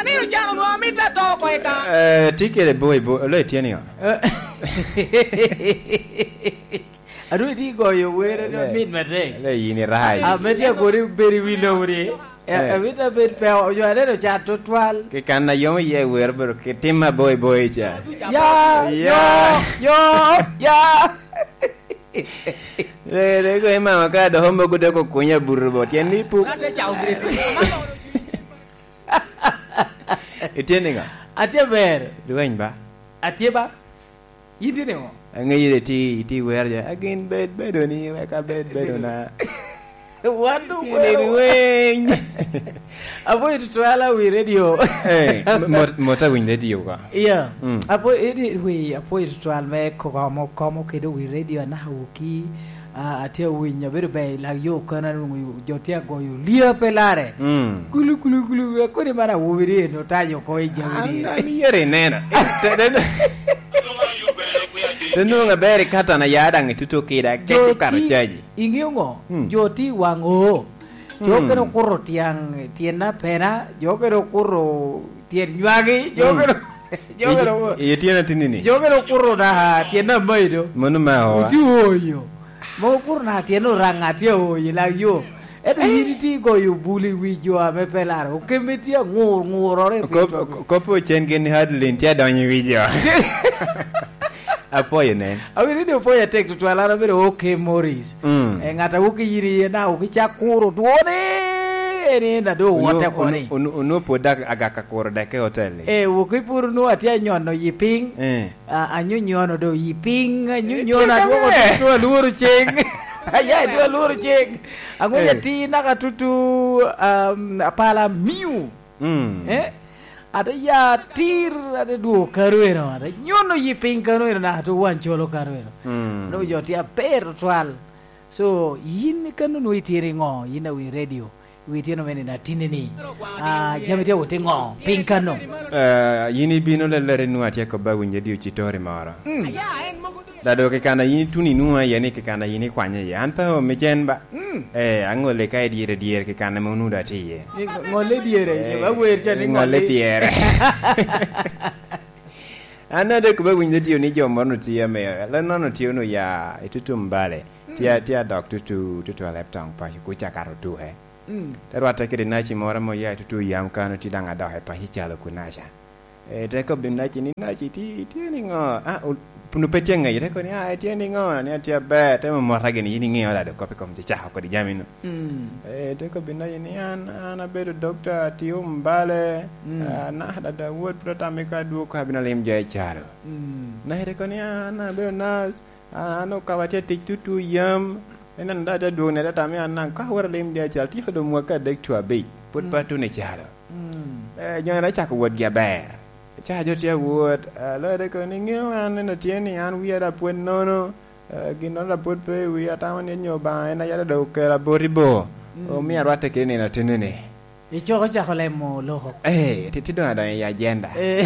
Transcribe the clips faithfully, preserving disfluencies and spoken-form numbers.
Nino can onwoŋo amito ato oko i kan. Eh, tye kede boi, boi, lo itye niŋo? Adwoŋ itye goyo wer, adwoŋ mit matek. Le yin irac. Ah, me tye agori bedo i wi lobo ni. Eh, eh. Amito abed pe, oyo aneno can tutwal. Ki kan a yom iye wer bedo ki tim aboi boi ca. Ya, ya, yo, ya. Le, le, go imama ka doho mogo dok okunya buru bo. Tyen ni puk. Ate ca obed. Itye niŋo? Atye ber. Lweny ba? Atye ba. Yin tye niŋo? Aŋeyo ite, ite wer ja. Agin bed bedo ni, wek abed bedo na. Wan doŋ Yin wero. Lweny. Apo i tutwal a wi radio. Eh, mo-, mo-, mota winy radio ka. Yeah. Mm. Apo, edi, wi, apo i tutwal me komo, komo kede wi radio anaka woki. Ah, atye awinyo, abedo ber i lak yo okana, nwoŋo jo tye agoyo lia pe larre. Mm. Gulu, gulu, gulu, kodi man awobi ni eno otanyo oko i jami ni. An, an yere inena. Te, te, te nwoŋo aber i katan aya daŋ ituto keda, kec okato caji. Iŋeo ŋo? Mm. Jo tye i waŋ oo. Jo Mm. kene okuto tyaŋ, tyen apena, jo kene okuto tyen nywagi, jo Mm. kene, jo kene I, okuto, i tyen atinini. Jo kene okuto da, tyen amayi do. Mano ma oa. Oju oyo. Mogo kuro na tyen oraŋ atye aoyo i lak yo. Ento yin itye igoyo bul i wi jo ame pe laro. Okemme tye aŋur, ŋurore i piny Kop-, kop ocen gin ni Hadlin tye adonyo i wi jo. Apwoyo nen. Awinyo ni opoyo atek tutwal, an abedo OK Morris. Mm. Eh, ŋat a woki yin iye na woki cak kuro dwone, en en ado Onu-, wote koni. Onu-, onu-, onu pwod dak-, agaka kuro dek i hotel-li. Eh, woki pur nu atye anyono yi piny. Eh. A, anyonyono do yi piny, anyonyono Eh, adwoko tye tutu alworo ceng. Aya, tutu alworo ceng. Ang'o Eh. yati naka tutu, um, apala miu. Mm. Eh? Ate ya atir, ate dwogo kano eno, ate nyono yi piny kano eno, naka tutu wan colo kano eno. Mm. Ano jo tye aber tutwal. So, yin kano nwo itye i ŋo, yin awi radio. Wi tyen omene na tinni ni, ah, jami tye awot i ŋo? Piny kano? Eh, yin ibino lelere nwa tye kobba winyo di ocitori moro. Mm. Dado kikana yin ituni nwa iye ni kikana yin ikwanye iye. An pe omi cen ba. Mm. Eh, aŋolle ka i dyere dyere kikana me onudo atye iye. Ni ŋolle dyere, eh, awer ca ni ŋolle ŋolle pyere. An ade kobba winyo di ni jo moro no tye ame, le nono tye no ya i tutum bale. Tye, mm, tye adok tutu, tutu alep toŋ paco kuca kato tuke. Mm. Te rwatte kede naci moro ame oya i tutu yam kano, tye daŋ adok i paco calo kunaca. Eh, te kobbi naci ni, "Naci, ti-, itye niŋo?" Ah, o-, punu pe tye ŋeye, te koni, "Ah, itye niŋo?" Ni atye aber, te momota gini, yin iŋeo lado kop i kom cacako kodi jami no. Mm. Eh, te kobbi naci ni, "An, an abedo dokta, atio mbale, mm, ah, na, dada wot pwod atamo ka adwog ka abino alim jo i calo." Mm. Naci te koni, "An abedo nas." An, an okawa tye tic tutu yam. Ineno da, te dwogoni atata me an naŋ, ka awot alim dye acal, tyeko doŋ mwaka adek cu abic, pwod, mm, pe atuno i calo. Mm. Eh, jo-ni acako wotgi aber. Ca jo tye awot, eh, loyo dek ni, "Ŋeo an, neno tye ni an wia da pwod nono, eh, ginnoro da pwod pe i wia, atamo ni onyo Obaŋa en a yada dok okela boti bo." Mm. Omio arwatte kede nino ateni-ni. Icoko cako lemo loko. Eh, ti-, ti doŋ adonyo i agenda. Eh.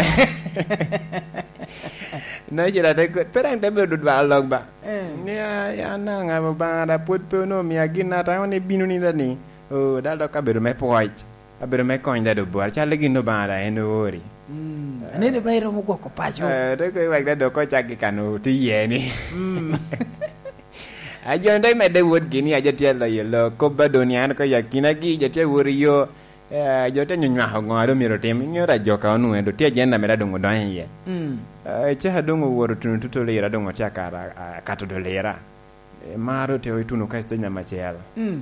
Nacira te ko-, pe daŋ te bedo dwaro lok ba. Eh. Ni, "Ah, ya naŋ, Obaŋa da pwod pe onwoŋo omia gin, atamo ni bino ni da ni, oh, dal dok abedo me pwoc, abedo me kony da do bwar, cal gin Obaŋa da en oori." Mm. Eh. Anene ba iromo gwoko paco. Eh, te ko iwek da dok ocak gi kano ti ye ni. Mm. A jo te medde wot gini, a jo tye loyo lo, kop ba doni an ko yakina gi, jo tye wot i yo. Eh, jo te nyo nywako ŋo a doŋ myero otim? Iŋeo da jo ka onwoŋo doŋ tye agenda mere doŋ odonyo iye. Mm. Eh, caka doŋ owoto tuno tutu lira, doŋ otye akato, a-, akato do lira. Eh, maro te otuno ka i stage namba acel. Mm.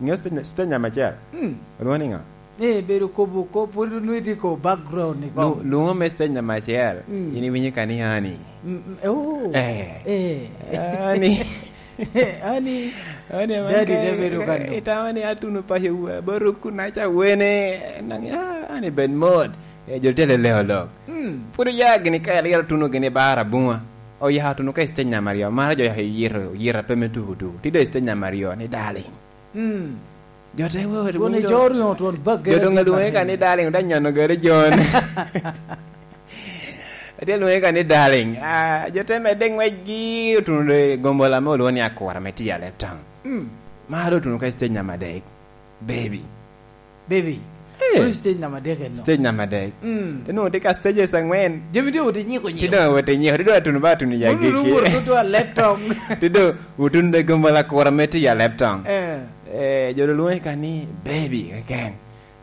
Iŋeo stage, stage namba acel? Mm. Olwoŋo ni ŋo? Eh, bedo kobo, ko-, pwod onwoŋo itye ko background ni ko. Lu-, luŋo me stage namba acel, mm, in iwinyo ka ni ani. Mm, mm, oh. Eh. Eh. Ani. Ani. Ani, daddy te bedo kan. Itamo ni atuno paco wa, baro kunaca wene, naŋ, ah, ani bed mot. Eh, jo tye leleo lok. Mm. Pwod oya gini ka eliro tuno gini bar abuŋa. Oya tuno ka i stage namba aryo, maro jo oyito, oyito pe me tuku tuku. Ti doŋ i stage namba aryo, ni darling. Mm. Jo te wot, twon winyo ico doŋ, oryo, twon bag jo doŋ alwoŋe ka ni darling, oda nyono gare John. Atye alwoŋe ka ni darling. Ah, jo te medde ŋwecgi, otuno de gombola me olwoŋo ni akura me tiyo alep town. Mm. Maro otuno ka i stage namba adek. Baby. Baby. Eh. Wun stage namba adek eno. Stage namba adek. Mm. Te nwoŋo tye ka stages angwen. Jami tye wot inyiko nyiko. Ti doŋ wot inyiko, ti doŋ atuno ba atuno i agikki. Wun wunu wot tutu a lep tong. Ti doŋ wutun de gombo lakura me tiyo a lep tong. Eh. Eh, jo lwonge ka ni baby keken.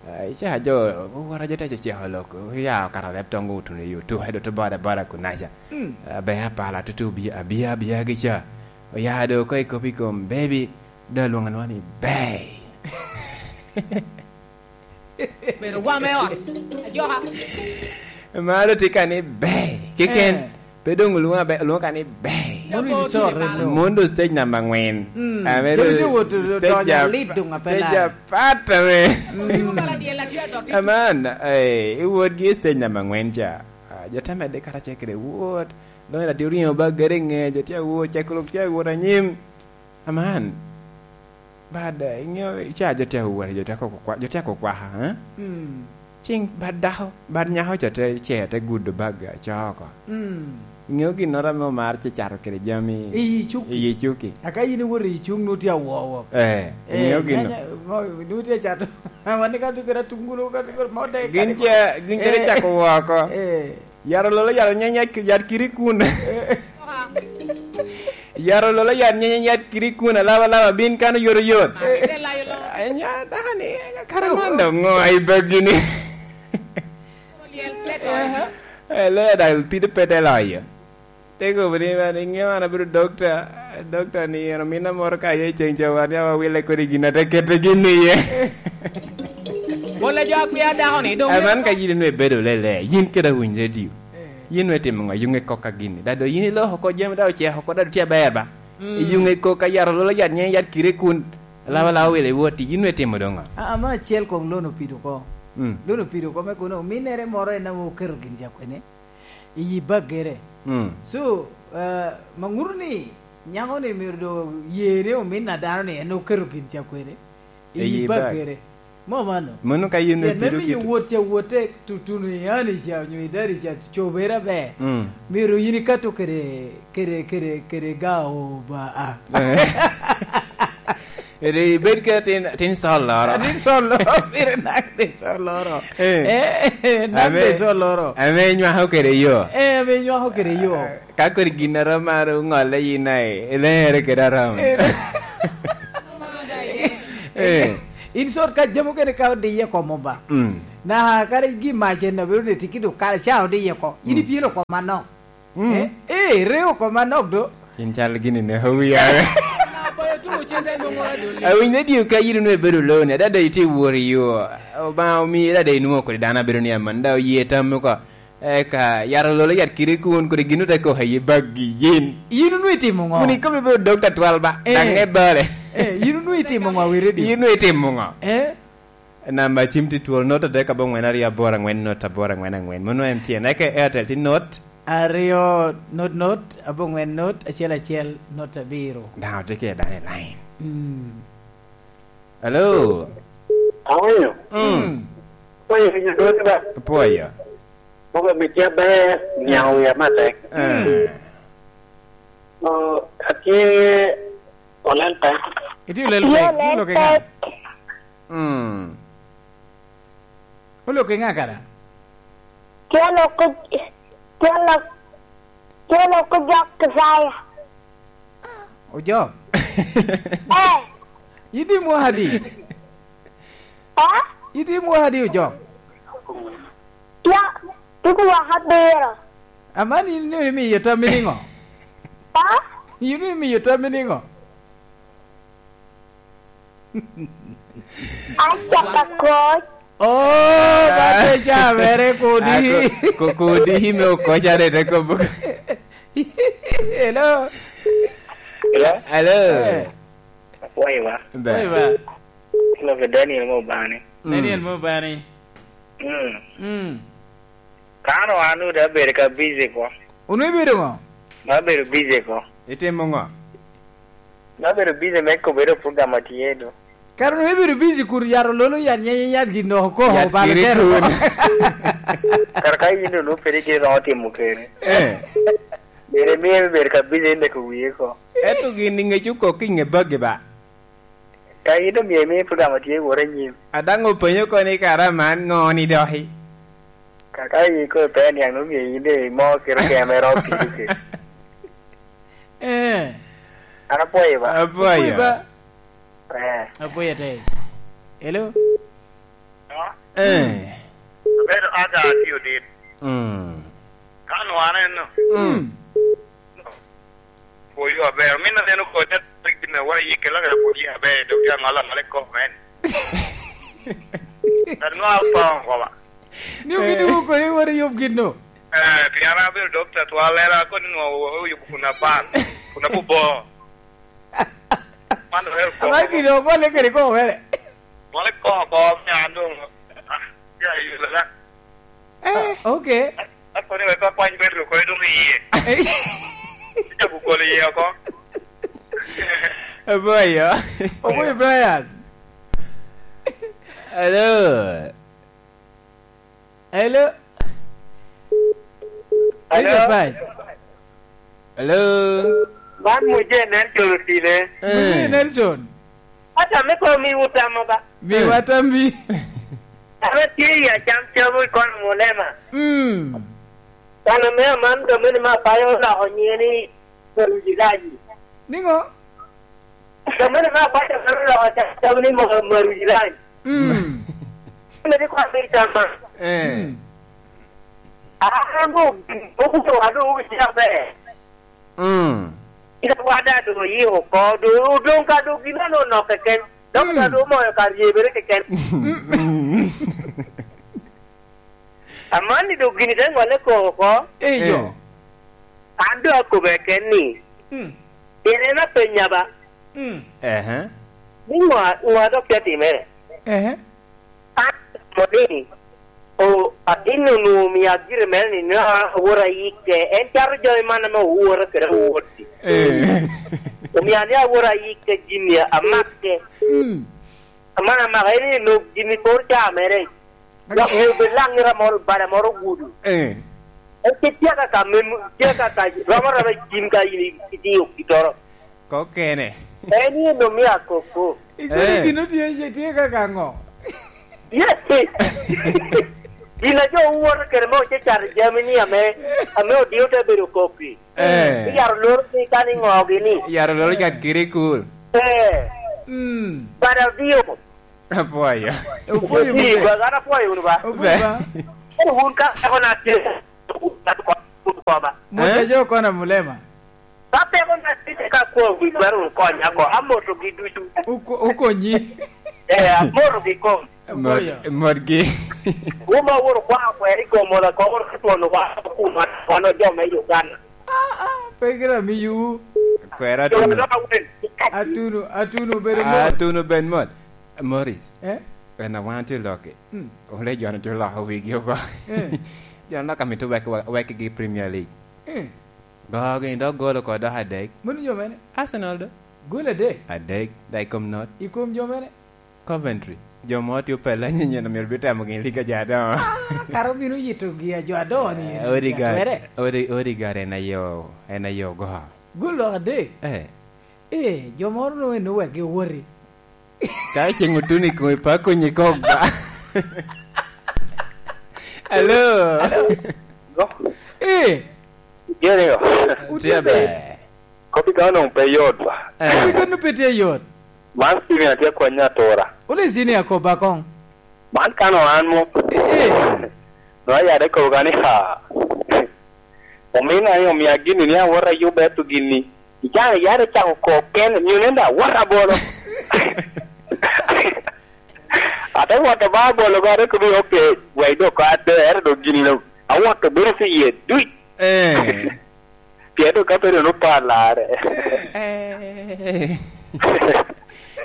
Ah, ica jo, owora jo te ceceko lok, oya okato lep tong otuno i otuke, dot boda boda kunaca. Mm. Ah, be apala tutu, bi-, abia, abia gi ca. Oya do ko i kop i kom baby, do alwoŋo alwoŋa ni bay. Bedo wa me ot, ajoka. Mano tye ka ni bay. Keken, eh, pe doŋ olwoŋo abe-, olwoŋo ka ni bay. Mondo in icorre lo. Mondo stage namba angwen. Mm. Ame jami tye wot stage donyo a-, alit doŋ ape stage lar. Apat ame. Mm. Aman, eh, iwot gi stage namba angwen ca. Ah, jo te medde karacel kede wot. Doŋ en adio riŋo ba gere ŋe, jo tye awot, cakko lok tye awot anyim. Aman. Bad, eh, iŋeo, ica jo tye awot, jo tye akoko kwa-, jo tye akoko kwaka, eh? Mm. Cing bad dako, bad nyako ca te, ce te gudo bag, eh, coo oko. Mm. Iŋeo ginnoro ame omar ce cato kede jami i yi cuki. I yi cuki. Aka in iwoto i cuŋ, nwoŋo tye awowo. Eh, eh, iŋeo gin-, nyanya, mo, nwoŋo tye acato. Wan ka tye kede atungulu, ka tye kede mo de, gin kare ce, gin kede, eh, cako woko. Eh. Yaro lolo, yaro nyanya, yat kiri kun. Eh. Yaro lolo, yat nyanya, yat kiri kun, alaba, alaba, bin kan oyotoyot. Anya, dani, kare man dong ŋo ai bagini? Eh, lo ya dal pide pete loyo. Te kobo ni, "Man, iŋeo an abedo dokta, dokta ni en ominna moro ka aye ceng ca wan, ya wawile kodi gin ate kete gin iye." Pol a jo akwia dako ni, dong. Eh, man ka yin nwe bedo lele, yin kede awiny radio. Eh. Yin nwe timo ŋo? Yuŋe kok ka gini. Da do yin iloko ko jami da oceko ko da tye aber ba. Mm. Yuŋe kok ka yaro lolo yat nye yat kire kun. Lawa lawa wele woti, yin nwe timo doŋ ŋo? A, ama acel koŋ lono pido ko. Mm. Lono pido ko me kono, ominere moro en ame oketo gin ca kwene. I yi baggere. Mm. So, eh, ma ŋuto ni nyako ni myero do yene omin a dano ni en oketo gin ca kwene. I yi baggere. Mo mano. Mano ka yin me pido kito. Pien me miyo wot ca wotte tutuno i ani ca, onyo i dari ca, cobere aber. Mm. Myero yin ikato kede, kede, kede, kede ga o ba a. Eh. Ri ibed ke tin, tin sol loro. Tin sol loro, pire nak tin sol loro. Eh. Eh, eh, nak tin sol loro. Ame inywako kede yo. Eh, ame inywako kede yo. Eh, ka kodi gin a rom mar oŋolle yin ai, ilere kede arom. Eh. Eh. In sot ka jami okene ka odiye kom oba. Mm. Na kare gi mac en abedo ni tiki do kare ca odiye ko. Yin ipyelo kom anok. Mm. Eh, eh, reo kom anok do. In cal gini ne owiya. Awiny ne dio ka yin onwe bedo lone, dada iti wor i yo. Obaŋa omi dada inwo kodi dano abedo ni aman, da oye tam ko. Eka, yaro lolo yat kiri kun, kodi gin ote kok aye bag gi yin. Yin onwe itimo ŋo? Kun ikomi bedo dok tatwal ba, eh, daŋ ŋe bare. Eh, yin onwe itimo ŋo, weri di? Yin onwe itimo ŋo? Eh? Namba cim tye twol, not adek abongwen aryo aboro angwen, not aboro angwen angwen. Mano M T N. Eka Airtel tye not aryo, not, not, abongwen, not, acel, acel, not, abiro. Daŋ otye kede dano i line. Mm. Hello? Awinyo? Mm. Mm. Pwoyo winyo dwoni ba? Pwoyo. Mogo mit ya ber, niang wiya matek. Eh. Mm. Oh, atye olel pek. Itye olel pek, olel pek. Mm. Olok i ŋa kara? Tye lok, tye lok, tye lok jok Icaya. Ojok? Eh. Idi mwaka adi? Eh? Idi mwaka adi, Ojok? Tye, tuku mwaka abiro. Aman in ni imiyo tammi niŋo? Eh? In ni imiyo tammi niŋo? Acaka koc. Oh, ba te ca mere kodi. Ah, ko-, ko-, kodi me okoc are te kobo. Hello. Hello? Hello. Eh. Wai wa. Be. Wai wa. Hello, ke Daniel mo bani. Mm. Daniel mo bani. Mm. Mm. Kano an ode abedo ka busy ko. Onwe ibedo ŋo? Abedo busy ko. Itimo ŋo? Abedo busy me kobedo program atye do. Kara onwe ibedo busy kur yaro lolo yat nyenye yat gin dok oko. Yat balo kiri tero. Kun. Kara ka in dong nwoŋo pede gin romo timo kene. Eh. Bene miyo bedo ka busy me neko wie ko. Eto gin i ŋec okok i ŋe bagi ba. Ka in omio imi program otye wot anyim. A daŋ openyo koni kara man ŋo ni doki? Kaka iko pe niaŋ omio in de imo kiro keme ro kiri kiri. Eh. An apwoyo ba. Apwoyo. Apwoyo ba. Eh. Apwoyo te. Hello? Eh. Abedo aga atio dit. Mm. Ka nwana eno. Mm. Pwoyo aber. Min aneno kodi rik me wa yike la kare pwoyo aber, dok ya ngala male ko men. Anwa pa ngoba. Ni obino wuko ni wari yub gin no. Eh, pien an abedo dokta twal, era koni nwa oyubo kun apan, kun abubo. Man oher ko. Amar gin no, mole kede ko mere. Mole ko, ko, me an dong, ah, ya, yulo la. Eh. Ah, okay. Akoni wek akwany Petero ko dong iye. Eh. Ija kukolo iye oko. Aboyo. Oboyo Brian. Hello. Hello. Hello. Hello, Pai. Hello. Man Muje Nelson Otile. Muje Eh. Nelson. Ata me ko mi utamo ba. Mi Eh. Watami. Ame tye i acam cam i kono mulema. Mm. Kan ame aman domene ma payo oloko nyiŋe ni Maruji Laji. Niŋo? Domene ma payo aman oloko cam cam ni Ma-, Maruji Laji. Mm. Ame di kwa mi tama. Eh. Mm. Aa, no, obuto wa do ubi cia be. Mm. Ina wada do yi oko, do, do ka do gina no no keken. Dok Mm. ka do moyo ka ryebere keken. Mm. Aman ni do gini te ŋole ko oko. Eyo. Eh. An do akobe ken ni. Mm. Ene na penya ba. Mm. Ehe. Ni ŋwa, ŋwa dok te timere. Ehe. An, mo ni, o, atin onwoŋo omia gire mere ni, na, awot ayikke. En cato jami man ame owora kede awot-ti. Eh. Omia ni awot ayikke gini, amakke. Mm. Aman amaka, en ni, no, gini poro ca mere. Dok ŋeo bed laŋ ira moro, bada moro gudo. Eh. En pe tye kaka mem-, tye kaka romo romo gin ka in i-, itiyo kitoro. Kok kene. En ni, no, mia koko. Ikono Eh. Gin otye, tye kaka ŋo? Yes. Gin a jo wuwoto kede me oce cato jami ni ame, ame odio te bedo kopi. Eh. Iyaro loro ni kan iŋogi ni. Iyaro loro cat kiri kul. Eh. Mm. Bada odio. Apwoyo. Opwoyo Ii, mute. Gwa, an apwoyo wunu ba. Opwoyo ba. Be. Koro wun ka eko na tye, wun koma. Moja Eh? Jo kona mulema. Ka peko na tye ka kwo wi dwaro wun konya ko, amoto gi ducu. Uko-, ukonyi. Eh, amoto gi kom. Mot, Oya. Mot gi. Wuma wuro kwa kweri gomo la koro twon wa kuma wano jo me Uganda. Ah, ah, pe gira miyu. Kwera Jo atunu. Dok awen. Atunu, atunu bedo mot. Atunu ben mot. Morris. Eh? En a wan tye lokke. Mm. Ole jo tye loko wigi oko. Eh. Jo loko amito wek, wek gi Premier League. Eh. Gogi dok golo ko dok adek. Mano jo mene? Arsenal do. Gol adek? Adek, da i kom not. I kom jo mene? Coventry. Jo mo tye opelle nyenyen myero bitemo gin liga jo adongo. Ah, kara obino yito gi a jo adongo ni. Eh, Odegaard, atwere. Ode-, Odegaard en ayo, en ayo go. Gol adek? Eh. Eh, jo moro no en owek gi woti. Ka ceng otuni kong ipa konyi kok ba. Hello. Hello. Eh. Jerry. Utye Tye ber. Ber. Kopi ka onong pe yot ba. Eh. Kopi ka onong pe tye yot. Man Steven atye akwanya atura. Wule zini akoba kong. Man kano an mo. Eh. No ayade kobo ka ni ha. Omina ni omia gini ni awota yuba eto gini. Icano yade cako kok ken, nyo nenda awota bolo. Ate wot aba abolo ba, ate kobi, "Okay, wek dok ka ader, dok gini no." Awot obedo pi ye duc. Eh. Pien dok ka pe doŋ opar larre. Eh.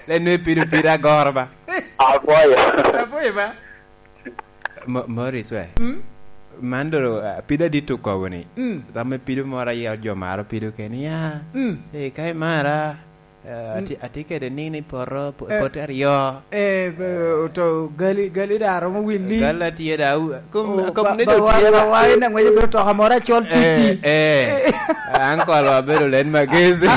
Len me pido pira agoro ba. Apwoyo. Apwoyo ba. Mo-, Morris we. Mm? Man do, ah, pido adit okobo ni. Mm. Ram me pido moro aye jo maro pido kene, ya. Mm. Eh, ka imara, eh, ati-, atye kede nino i poto, po-, Eh. Pote aryo. Eh, be-, to gali, gali da romo wil ni. Gali atye da, u-, kom, Oh, kom ba-, ne ba do wa-, tye ba da. Wa ina ngweco bedo toka moro acol Eh, titi. Eh. Uncle wa bedo len magezi.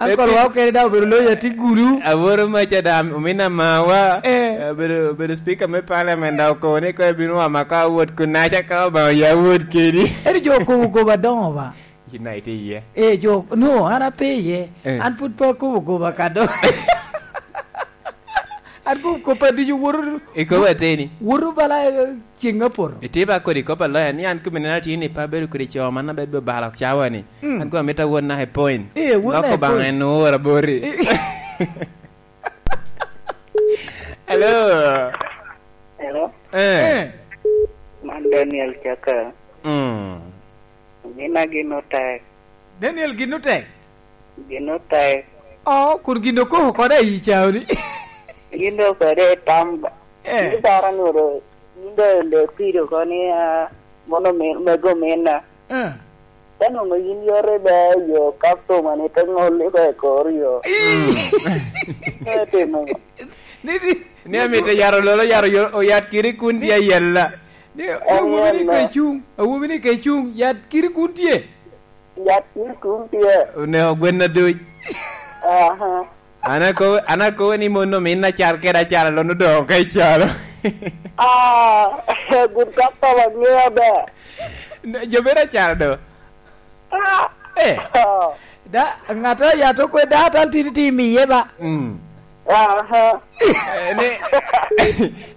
Uncle wa okene daŋ obedo loya tye gulu. Aworo maca daŋ, omin amawa. Eh. Obedo, obedo speaker me parliament daŋ okobo ni ko ebino wama ka awot kunaca ka Obaŋa ya awot kedi. Ento jo okobo goba doŋo ba. Yin daŋ itye iye. Eh, jo, no, an ape iye. Eh. An pud pe akobo goba ka doŋ. An kobo koppa ducu woto. Ikobo ateni. Woto bala, eh, ceng apoto. Itye ba kodi kop aloya ni an kome nena tye ni pe abedo kodi co man abedo balo cawa ni. Mm. An kome amito awot naka i point. Eh, wot naka i point. Loko Obaŋa en owora boti. Eh. Hello. Hello. Eh. Eh. Man Daniel Chaka. Mm. Mina gin otek. Daniel gin otek? Gin otek. Oh, kun gin okoko kode i caoni. Gin okoko kode i tam. Eh. Gin bara nwodo, gin do le pido ko ni, ah, mono mi-, mego mina. Eh. Ka nwoŋo yin yote ba yo customer ni te ŋolli ko i kor yo. Ii. Mm. Te timo. Ni, ni, ni amito yaro lolo, yaro yo, oyat kiri kun tye ayella. Ni, ni awobi ni ke cuŋ, awobi ni ke cuŋ, yat kiri kun tye. Yat kiri kun tye. Oneko gwen aduc. Aha. An akobo, an akobo ni mon omin acar kede acar alon odoŋo ka icalo. Ah, good customer, ŋeo ber. Ne, jo bedo acar do. Ah. Eh. Ah. Da, ŋat a yat okwe da tal tini ti miye ba. Mm. Aha. Eh, ni,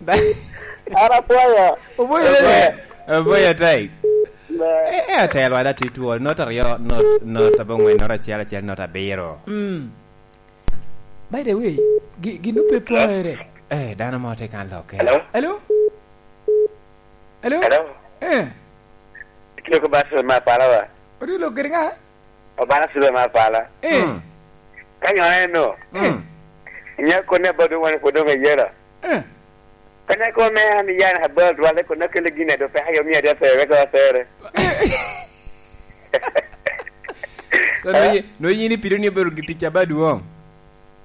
da. An apwoyo. Oboyo lele. Oboyo, oboyo tai. Ba. Eh, eh, atelwa da ti twol, not aryo, not, not abongwen, not acel acel, not abiro. Mm. By the way, gi-, gin ope pwonyere. Eh, dano mo tye kan lokke. Hello? Hello? Hello? Hello? Eh. Itye ko bas ma pala wa? Odi lok giri ŋa? Obana Sulaiman Pala. Eh. Mm. Ka nyo en no. Mm. Inya kone abado wan ko dong ayela. Eh. Ka nyo ko me an yan habal dwale ko na kele gine do pe ayo mi ade pe weka wasere. So, no yi-, no yini pido ni obedo gi tic abadwong?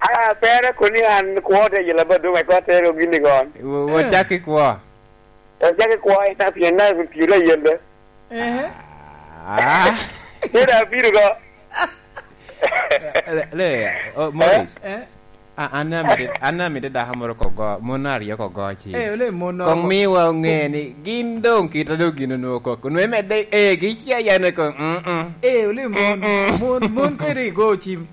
Ah, pere ko ni an kwo te yela abadwong, ko te ro gini gon. Wo, wo, eh, cak i kwo. Ojaki kwo ita pien na piro ayelle. Ehe. Ah. Ira piro go. Le, le, oh, Morris. Eh? A-, an amito, an amito dako moro ko go, mon aryo ko go ci. Eh, ole mon no. Kong miwa oŋe ni gin doŋ kit a doŋ gin onwoŋo koko. Onwoŋo emedde, eh, gi cia yan eko, mm, mm. Eh, ole mon, mm, mm, mon, mon ko iri go cim.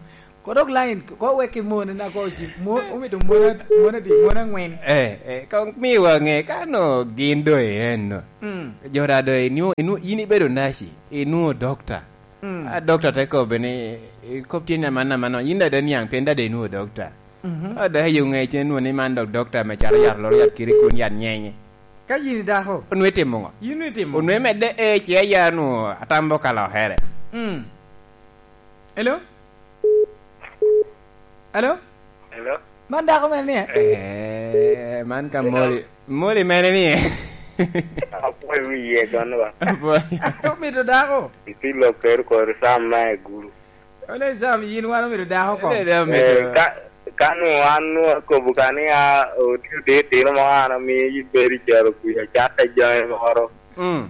Kodok line, ko wek i mon na ko ci, mon, omito mon a-, mon adi, mon angwen. Eh, eh, ka miwa ŋe, ka no gin do i en no. Mm. Jo da do, inu-, inu-, in ibedo naci, inwoŋo dokta. Mm. A dokta te kobbe ni, i kop tye ni aman, aman, in da de niaŋ, pien da de inwoŋo dokta. Mhm. A da yo ŋe, cen nwoŋo ni man dok dokta me caro yat loro yat kiri kun yat nyenye. Ka yin i dako? Onwoŋo itimo ŋo? Yin itimo? Onwoŋo imedde, eh, ci aya nwoŋo atambo ka lokere. Mm. Hello? Hello? Hello? Man dako mene ni, eh? Eh, man ka Moli. Moli mene ni, eh? Apwoyo wiye, gonwa. Apwoyo. Omito dako? Iti lok kero kor Sam na e gulu. Ole Sam, yin wan omito dako ko? Ole da omito. Eh, ka, ka nwoŋo an nwoŋo akobo ka ni a, otio de tino mo an amiyo yin bedo i caro kuya, catta jami moro. Mm.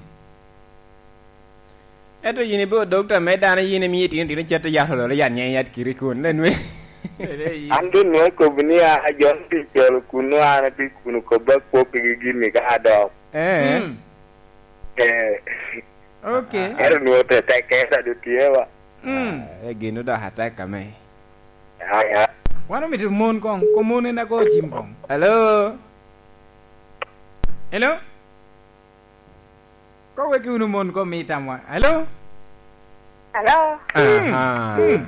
Ento yin ibedo dokta me dano, yin imio itino tino cato yat ololo yat nyen yat kiri kun, ne nwe. An doŋ nwoŋo akobo ni a, a John tye calo kun, nwoŋo an atye kun okobo akwo kegi gini ka adok. Eh. Mm. Eh. Ok. Ento nwoŋo te tek keta do tye wa. Mm. Ah, eh, gin odok atek ame. Ya, ya. Wan omito mon koŋ, ko mon en ago cim koŋ. Hello? Hello? Ko weki wunu mon ko mi tamwa. Hello? Hello? Aha. Mm.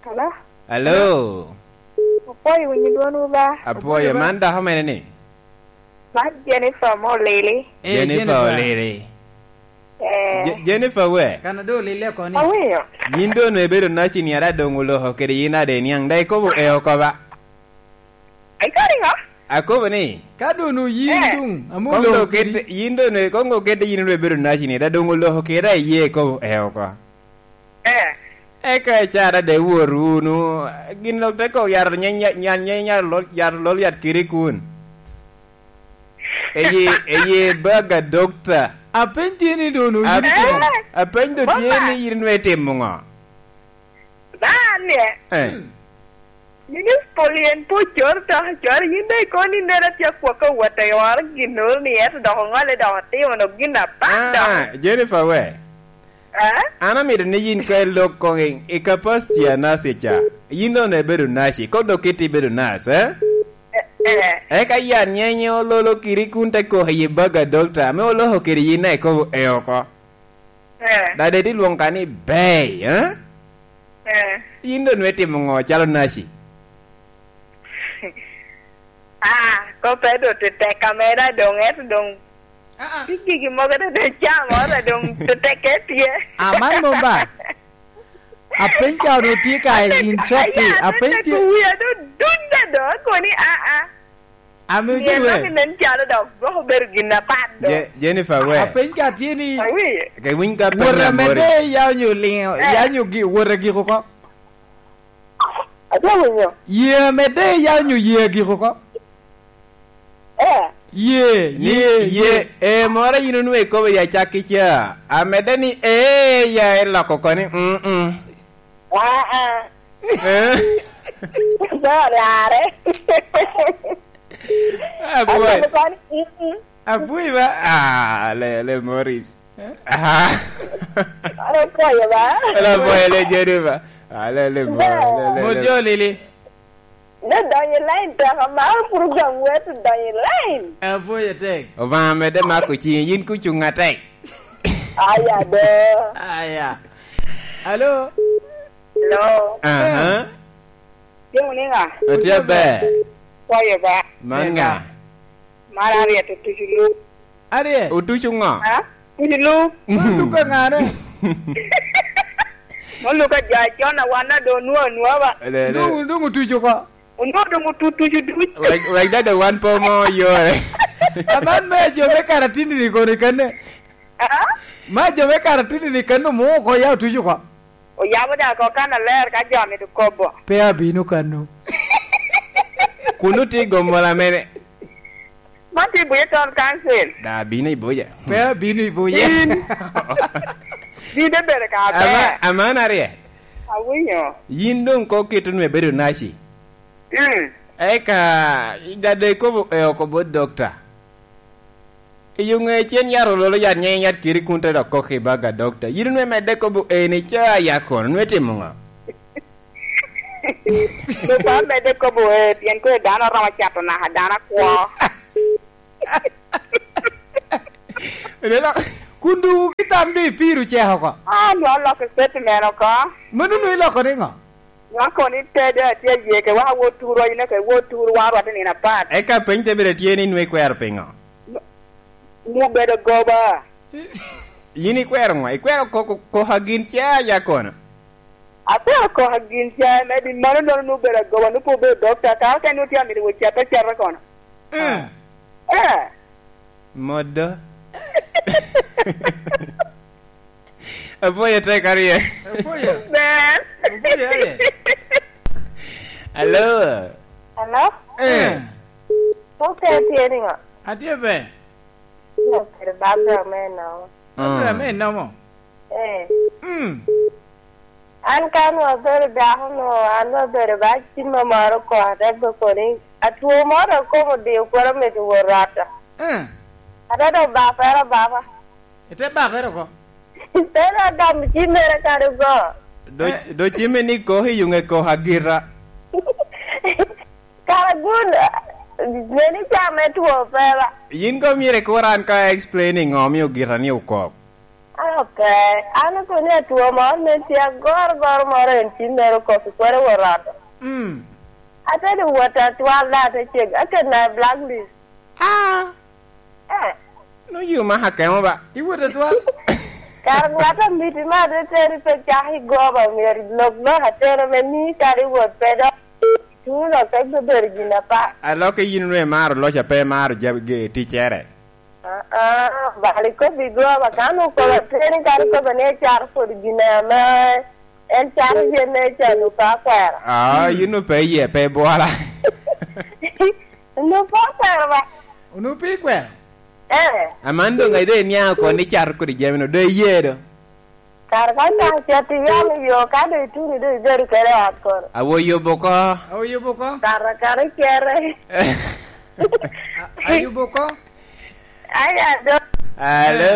Hello? Hello? Apwoyo winyo dwonwu ba. Apwoyo, apwoyo ba. Man dako mene ni? Man Jennifer mo Lili. Eh, Jennifer Jennifer. Olili. Eh. Je-, Jennifer we? Kan ado Lili oko ni. Awinyo. Yin doŋ ibedo naci ni ara doŋ oloko kede yin ade niaŋ, da ikobo e oko ba? Ai, kodi ŋo? Akobo ni. Ka doŋ oyin, eh, doŋ, amo koŋ loko doŋ kede, kedi. Yin doŋ, koŋ doŋ kede yin doŋ ibedo naci ni, da doŋ oloko kede a iye ikobo e oko. Eh. Eka icara de wot wunu, gin lok te kok yaro nyeny, nyan nyeny yaro lol, yaro lol yat kiri kun. Eye, eye baga dokta. Apeny tye ni doŋ oyin. Apeny, eh, apeny do tye ni yin nwe timo ŋo? Ba, Ni, eh. Minis Poli en pe ocoro to, ocoro yin dok ikobo ni nera tye akwaka wot ayoro gin oro ni ento dok oŋolle dok otimo no gin apat dok. Ah, Jennifer we. Eh? An amito ni yin ka ilok koŋ i, i capacity a nurse ca. Yin doŋ ibedo nurse, kok dok kit ibedo nurse, eh? Eh, eh. Eka yan nyenye ololo kiri kun te koko i baga dokta, ame oloko kiri yin na ikobo e oko. Eh. Dade ti lwoŋ ka ni Bey, eh? Eh. Yin doŋ nwe timo ŋo calo naci? Ah, kope doŋ te tek ameda doŋ, ento doŋ Ah, ah. Ti gigi mogo te doŋ camo, ora doŋ te tekke tye. Aman mom ba? Apeny ka onwoŋo tye ka in short ti, apeny tye. Wia doŋ dudda doŋ, akoni, ah, ah. Ame Ni ojiri anongo we. Nen calo dok gwok obedo gin apat do. Je-, Jennifer we. Apeny ka tye ni Awi. Ke winy ka peny wot na amede Morris. Ya onyo liŋo, Eh. Ya onyo gi-, wot agiko ko. Atye winyo. Ye amede ya onyo ye agiko ko. Eh. Ye, Ni ye, ye, ye. Eh, moro yin onwe ikobo ya cakki ca. Amede ni, eh, ya eloko ko ni, mm, mm. Ah, ah. Eh? Dore are. Ah, boy. Akobo koni, mm, mm. Apwoyo ba? Ah, le, le Morris. Eh? Ah. An apwoyo ba? An apwoyo le Jennifer. Ah, le, le, Mo, le, le, le. Mo jo lili. Ne donyo i line tek, amaro program weto donyo i line. Apwoyo tek. Obaŋa medde mako ciŋi, yin kucuŋ atek. Aya do. Aya. Alo? Hello. Aha. Tye wunu i ŋa? Otye aber. Kwayo ba. Man ŋa? Mar Ariet Otucu Luk. Ariet? Otucu ŋo? Ha? Otucu Luk. Otucu ŋane? Mo Luk a jo acon a wan a do onwo anwa ba. Le, le. Duŋ, duŋ otucu ko. Onwo duŋ otu-, tucu duc. Wek, wek dada wan po mo yore. Aman me jo me Karatini ni kono kene. Ah? Ma jo me Karatini ni kene omo oko ya otucu ko. Oyabo daŋ oko kan aler ka jo amito kobo. Pe abino kano. Kun otye i gomola mene? Man tye i Buye Town Council. Da abino i Buye. Pe abino i Buye. In. Dide bedo ka aber. Ama-, aman arye. Awinyo. Yin doŋ ko kit onwe bedo naci. Mm. Eka, dada ikobo, eh, oko bot dokta. I yo ŋe cen yat ololo yat nyeŋ yat kiri kun te dok kok i baga dokta. Yin onwe medde kobo eni ca ya kono, nwe timo ŋo? Lupa medde kobo, eh, pien kwe dano romo cato naka dano akwo. Rela. Kun dugu ki tam doŋ ipiro cek oko. Ah, nwa loko statement oko. Mano nwa iloko ni ŋo? Nwa kono itede atye ye ke waka wot turu, ine ke wot turu, wa rwate nino apat. Eka peny te bedo tye ni nwa ikwero piŋo? Nwa bedo goba. Yin ikwero ŋo? Ikwero ko-, ko-, koka gin ca ya kono? Akwero koka gin ca, me di mano nono nwa bedo agoba, nwa pe obedo dokta, kara ka nwa tye amito wot cato acata kono. Eh. Eh. Modo. Apwoyo tek arye. Apwoyo. Ber. Apwoyo arye. Alo. Hello? Eh. Mukene tye niŋo? Atye ber. Tye ber, Barbara me nomo. Barbara me nomo? Eh. Mm. An ka nwa abedo dako nwa, an nwa abedo ba cimma moro oko, ate be koni, atwo moro dok kom odiyo kwero mito wot rwata. Eh. Ate dok bapere abapa. Ite bakere oko? Ite dok gamo cimmere kadi go. Do, eh, do cimme ni kok i yuŋe kok agira. Kara gun, neni ca me two pe ba. Yin ko myero ikur an ka explaining ŋo omio gira ni okok. Ah, pe. An okoni atwo moro ne tye agoro goro moro en cim mere okok i kwero wot ot. Mm. Ate di wot atwal da ate ceg, akena blacklist. Ah. Eh. No you ma hakemo ba. Iwot atwal. Kara ŋat a miti ma ate teri pe cak i goba myero lok lok atero me ni kadi wot pe dok. Tuno pe bedo gin apa. Aloke yin nwe maro loca pe maro jab-, ge-, ticere. Ah, ah, bal ikobo i goba, ka onwoŋo kobo ateni, kadi kobo ni ecaro kodi gin ame en caro yen ne ca, onwoŋo pe akwero. Ah, yin onwoŋo pe iye, pe ibwora. Onwoŋo pe akwero ba. Onwoŋo pe ikwero? Eh. Aman doŋ ide iniaŋ oko ni cato kodi jami no, do iye do? Kara ka ca cet iyamo yo, ka doŋ ituno doŋ ibedo kede ot kono. Awo yubo oko. Awo yubo oko. Kara kara icere. A-, ayubo oko. Aya do. Alo.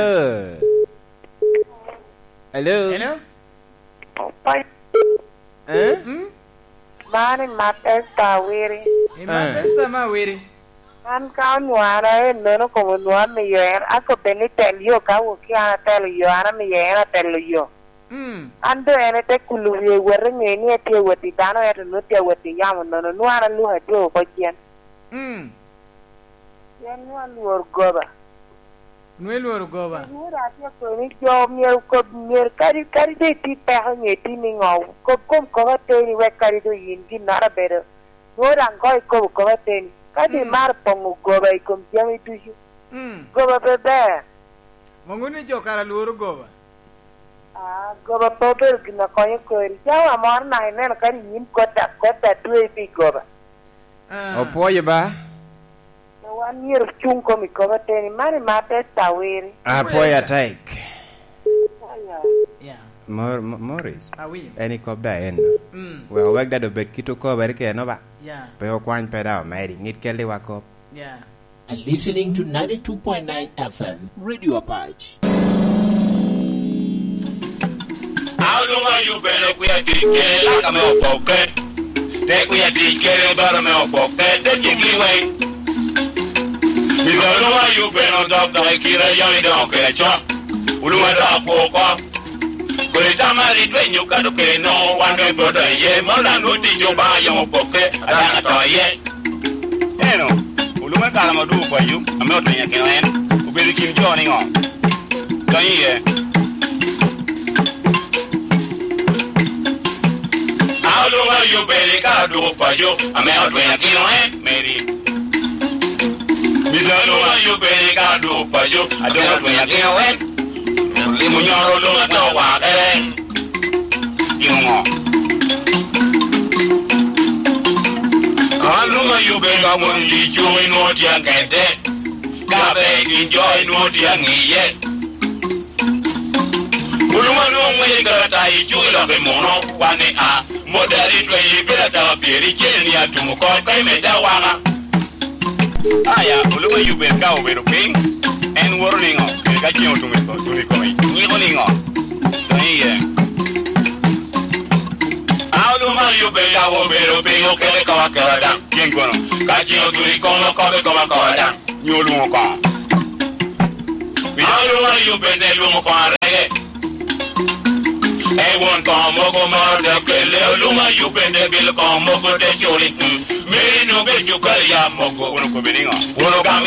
Alo. Hello? Eh? Mm? Man i Matesta Awiri. I Matesta me Awiri. An ka onwara en nono kom onwara miyo en, akobbe ni tel yo ka wok ki an atelo yo, an amiyo en atelo yo. Mm. An doŋ en ete kulo wie wot i ŋe ni etye wot i dano, ento nwoŋo tye wot i yamo nono, nwoŋo an alwoko atye oko cen. Mm. Pien nwoŋo alworo goba. Nwoŋo ilworo goba. Nwoŋo daŋ atye kono ni jo myero kob, myero kadi, kadi doŋ iti peko nyo iti niŋo, kob kom kop ateni wek kadi doŋ yin ginnoro abedo. Nwoŋo daŋ koŋ ikobo kop ateni. Ka doŋ Mm. imaro poŋo goba i kom jami ducu, Mm. goba pe ber. Moŋo ni jo kara lworo goba. Ah, goba pe obedo gin a konyo kori. Cawa moro naka ineno kadi yin kota, kota twe pi goba. Ah. Opwoyo ba? Wan myero ocuŋ kom i kop ateni, man i mar te tawiri. Apwoyo atek. Aya. Yeah. Mor-, Mo-, Morris. Awinyo. En i kop da en. Mm. Wek, wek dado bed kit okobere keno ba. Yeah. Pe okwany pe da omedi, ŋit kelli wa kop. Yeah. Are listening to ninety-two point nine F M Radio Apac. Aluma yubene kuya tic kede laka me opokke. Te kuya tic kede baro me opokke. Te tiki weng. Mizo luma yubene odok dok i kira yoni dok kede con. Uluma dok apoko. Kodi tamari dwenyo kado kede no, wan me bodo iye. Mola nwo tic oba yom opokke. Adana to iye. Eno, olwoŋo i kare ame odwogo paco, ame otwenyo akino en, obedo i kin jo niŋo? Donyo iye. A olwoŋo a yubbe ni kare odwogo paco, ame otwenyo akino en, meri. Mito olwoŋo a yubbe ni kare odwogo paco, ame otwenyo akino en. Limo nyoro lum atye wakere. Gin ŋo? An lum ayubbe ka mono lico inwoŋo tye aŋedde. Ka be gin jo inwoŋo tye aŋiye. Olum anwoŋo ŋwece karata icuŋ i lok i muno, wan ni a, modari twenye i pira dawa pyeri cene ni atumo kop ka imedde awaka. Aya, olwoŋo Ayub en ka obedo piny, en woto niŋo? Kede ka ceŋ otuno i ko-, otuno i kome, nyiko niŋo? Donyo iye. A olwoŋo Ayub en ka obedo piny, okebe kop akeba daŋ. Tyen kono, ka ceŋ otuno i kome, okobe kop akoba daŋ. Nyo olwoŋo koŋo? Pien olwoŋo Ayub en, elwoŋo koŋo arege. E won koŋo mogo moro te kelle, olwoŋo Ayub en, te bilo koŋo mogo te culi. Mm. Meri nobed cukari ya mogo. Won okobe niŋo? Won ogamo